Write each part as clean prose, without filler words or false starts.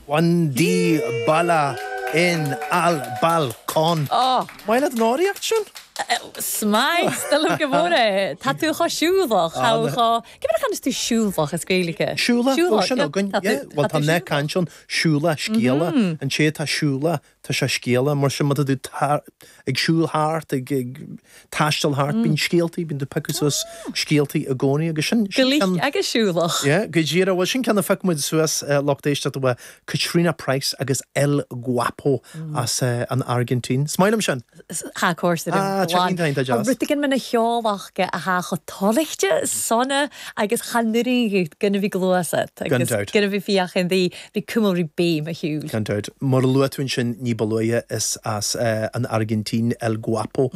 Juan Dybala en el balcón. Maith leat an fhoghraíocht sin? 'S maith liom go mór é. Tá tú chomh siúlach. Cé mar a chanas tú siúlach as Gaeilge? Siúlach, bhfuil sin againn. Bhuel tá nath cainte ann, siúlach scéalach. An té atá siúlach, tá sé scéalach. Mar sin má tá tú ag siúl thart, ag taisteal thart, bíonn scéaltaí, bíonn tú ag piocadh suas scéaltaí i gcónaí agus sin, sin Go ceann, agus siúlach. Yeah, go díreach, bhuel sin ceann a phioc muid suas, lucht éisteachta uaidh Caitríona Price agus El Guapo as an Airgintín. Is maith liom sin! Thá cúrsa liom Ah, glan. iontach, iontach Tá deas. rud éigin mana cheolach go athá chomh tolaichte, sona agus cha n-oireann dhuit go bhí gluais a't Gan agus dabht. go bhí fiacha an Bhí cuma rí béim a shiúil. Gan dabht. Mar a luaigh tú ansin ní ba luaithe, is as an Airgintín El Guapo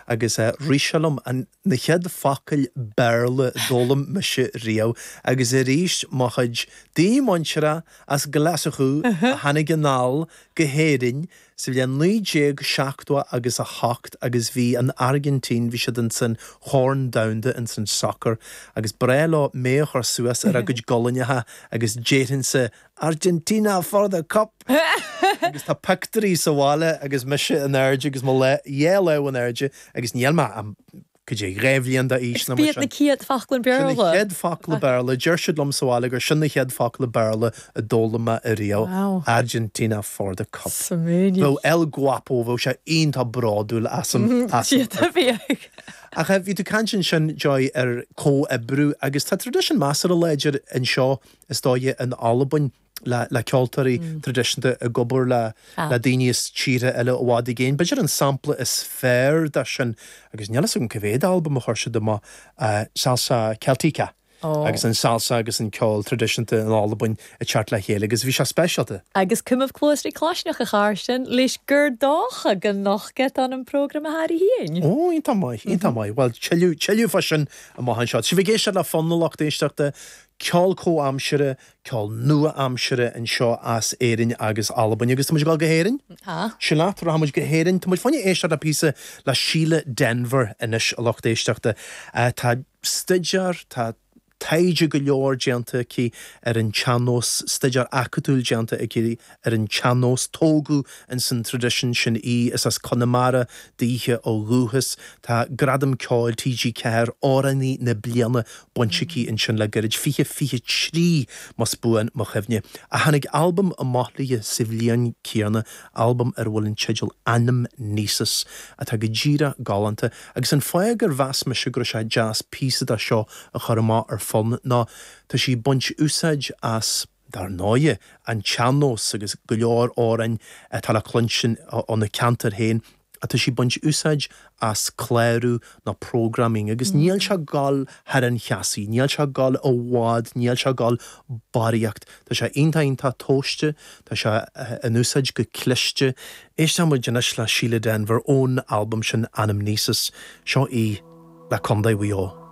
agus rith sé liom an na chéad focail Béarla a d'fhoghlaim mise riamh agus arís mo chuid daoine muinteartha as Glaschú a tháinig anall go hÉirinn Sa bhliain 1970 agus 8 agus bhí an Airgintín, bhí siad ins an Chorn Domhanda ins an sacar agus ba bhreá leo mé a chur suas ar a gcuid gualainneacha agus déarfainnse Argentina for the cup! agus tá pictiúirí sa bhaile agus mise in airde agus mo dhá lámh in airde agus níl mé ach cad é, 2 bhliain d'aois nó mar sin. B'iad na chéad focla Sin na Béarla. chéad focla Béarla. Deir siad liom sa bhaile gur sin na chéad focla Béarla a d'fhoghlaim mé ariamh. Wow. Argentina for the cup. Smaoinigh. Bheadh El Guapo, bheadh sé iontach bródúil asam, asam. Siad a bheadh. Ach bhí tú ag caint ansin, Joy, ar comhoibriú agus tá traidisiún measartha láidir anseo, is dóigh, in Albain. le ceoltóirí traidisiúnta ag obair le daoine as tíortha eile i bhfad i gcéin. B'fhéidir an sampla is fearr de sin, agus níl fhios agam cá mhéad albam a chuir siad amach, Salsa Celtica agus an salsa agus an ceol traidisiúnta in Albain ag teacht le chéile agus bhí sé speisialta. Agus cumamh cluas rí claisneach a Charstin, leis gur dócha go nochgat an an prógram a thairri fhéin. Ó, iontach maith, iontach maith. Bhuel, tuilleadh, tuilleadh fá sin amach anseo. Sibh ag éisteacht le Fonn a lucht éisteachta, ceol comhaimseartha, ceol nua-aimseartha anseo as Éirinn agus Albain. Agus tá muid ag dul go hÉirinn? Tá. Sin leat, rachaidh muid go hÉirinn. Tá muid fá choinne éisteacht le píosa le Síle Denvir anois, a lucht éisteachta. Tá staidéar, tá taighde go leor déanta aici ar an tsean-nós, staidéar acadúil déanta aici ar an tsean-nós. Tógadh ins an traidisiún sin í. Is as Conamara daoithe ó dhúchas. Tá Gradam Ceoil TG4, Amhránaí na Bliana, bainte aici ansin le gairid, 2023 más buan mo chuimhne. Ach tháinig albam amach léi sa bhliain céanna, albam ar a bhfuil an teideal Anamnesis, atá go díreach galánta. Agus an fáth gur mheas mise go raibh sé deas píosa de seo a chur amach ar Fonn ná tá sí ag baint úsáid as, dar ndóighe, an tsean-nós agus go leor amhráin atá le cluinstin óna ceantar féin ach tá sí ag baint úsáid as clárú nó programming agus níl sé ag dul thar an cheasaí, níl sé ag dul i bhfad, níl sé ag dul barraíocht. Tá sé iontach iontach tomhaiste, tá sé in úsáid go cliste. Éisteann muid anois le Síle Denvir ón albam sin Anamnesis. Seo í le Contae Mhaigh Eo.